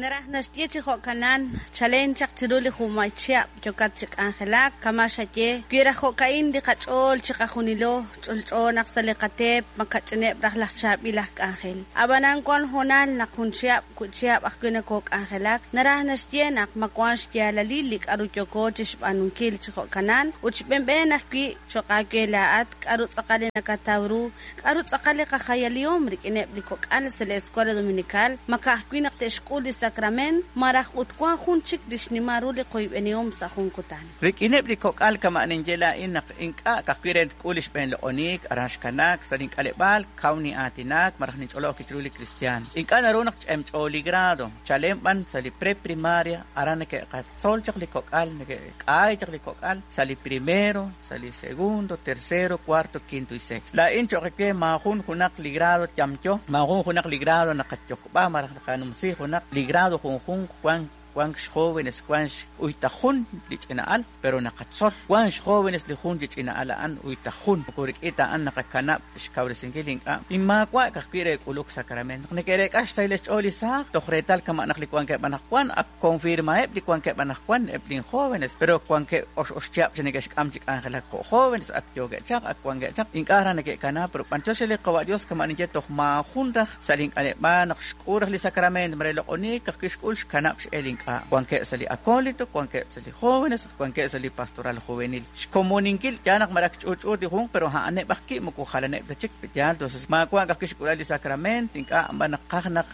Naraj naxye chi jo'kanan, chalen chaq chiru li junmay chihab' yokat chi k'anjelak, kama' xaye, wi raj jo'ka'in li qach'ool chi qajunilo, ch'olch'o naq sa' li qateep makach'ineb' raj laj chaab'il aj k'anjel. Ab'anan wan hoonal naq jun chihab' wi' chihab' ajwi' nakook'anjelak, naraj naxye naq ma wan xyaalalil li k'aru yooko chi xb'aanunkil chi jo'kanan ut xb'enb'een ajwi' cho'q aawe laa'at k'aru tz'aqal li nakataw ru, k'aru tz'aqal li qajayalihom rik'ineb' li kok'al sa' li Escuela Dominical, ma ka'ajwi' naq te'xk'ul li sakrament, malaj ut wan jun chik li xnimal ru li qoyb'enihom sa' jun kutan. Rik'ineb' li kok'al kama' ninye laa'in naq ink'a' ka'ajwi' re tk'ul li xb'een loq'oniik aran xkanaak sa' link'aleb'aal kaw nin'aatinak malaj ninch'olob' ajwi' chiru li kristiaan. Ink'a' naru naq ch'emch'o li grado, chalen b'an sa' li preprimaria aran neke'qatzol chaq li kok'al, neke'k'aay chaq li kok'al sa' li primero, sa' li segundo, tercero, cuarto, quinto y sexto. Laa'in cho'q we maajun junaq li grado yamyo, maajun junaq li grado naqayokb'a malaj naqanumsi junaq li grado junjunq wank wank xjóvenes wank uyta jun li ch'ina'al pero naqatzol wank xjóvenes li jun chi ch'ina'al a'an uyta jun moko rik'in ta a'an naqakanab' xkawresinkil ink'a' inmaawa' ka'ajwi' re k'uluk sacramento naq neke'reek'a xsahil xch'ool li saaj toj reetal kama' naq li wankeb' anaqwan ak confirmaheb' li wankeb' anaqwan eb' lin jóvenes pero wankeb' ox chihab' chi neke'xk'am chi k'anjelak jo' jóvenes ak yookeb' chaq ak wankeb' chaq ink'a' raj neke'kana pero b'anyox li Qawa' Dios kama' ninye toj maajun raj sa' link'aleb'aal naq xk'ul raj li sacramento mare loq'oniik ka'ajwi' xk'ul xkanab' x'el ink'a' wankeb' sa' li acólito wankeb' sa' li jóvenes ut wankeb' sa' li pastoral juvenil xkomoninkil yaal naq malaj ch'uch'uut li junq pero a'aneb' aj ki' moko jalaneb' ta chik yaal entonces maawa' ka'ajwi' xk'ulal li sacramento ink'a' b'an naqaj naq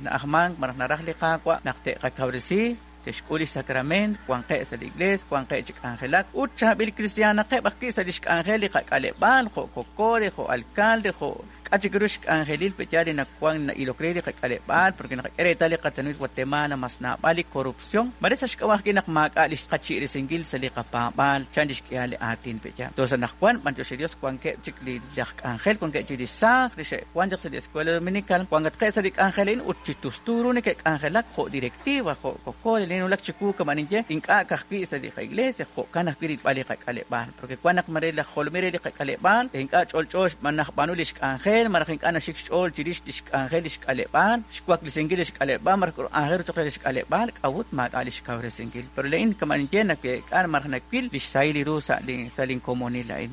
na'ajmank malaj naraj li Qaawa' naq te'qakawresi te'xk'ul li sacramento wanqeb' sa' li iglees wanqeb' chi k'anjelak ut chaab'il kristiaanaqeb' ajwi' sa' li xk'anjel li qak'aleb'aal jo' cocode jo' alcalde jo' k'a' chik ru xk'anjelil pe yaal li nawan na'ilok re li qak'aleb'aal porque naqak'e reetal li qatenamit Guatemala mas naab'al li corrupción mare sa' xk'ab'a' ajwi' naq maak'a' li xqachi'resinkil sa' li qapaab'aal chan li xk'ihal li aatin pe yaal entonces anaqwan b'antiox li Dios wankeb' chik li laj k'anjel wankeb' chik li saaj li xe'wan chaq sa' li Escuela Dominical wankatqeb' sa' li k'anjel a'in ut chi tustu ru neke'k'anjelak jo' directiva jo' cocode li nawulak chiwu kama' ninye ink'a' ka'ajwi' sa' li qa'iglesia jo'kan ajwi' rilb'al li qak'aleb'aal porque wan naq mare laj jolomil re li qak'aleb'aal ink'a' ch'olch'o najb'aanu li xk'anjel malaj ink'a' naxik xch'ool chirix li xk'anjel li xk'aleb'aal xwaklisinkil li xk'aleb'aal malaj k'anjel cho'q re li xk'aleb'aal k'a'ut maak'a' li xkawresinkil pero laa'in kama' ninye naweek'a malaj nawil li xsahil li ru sa' li sa' linkomonil a'in.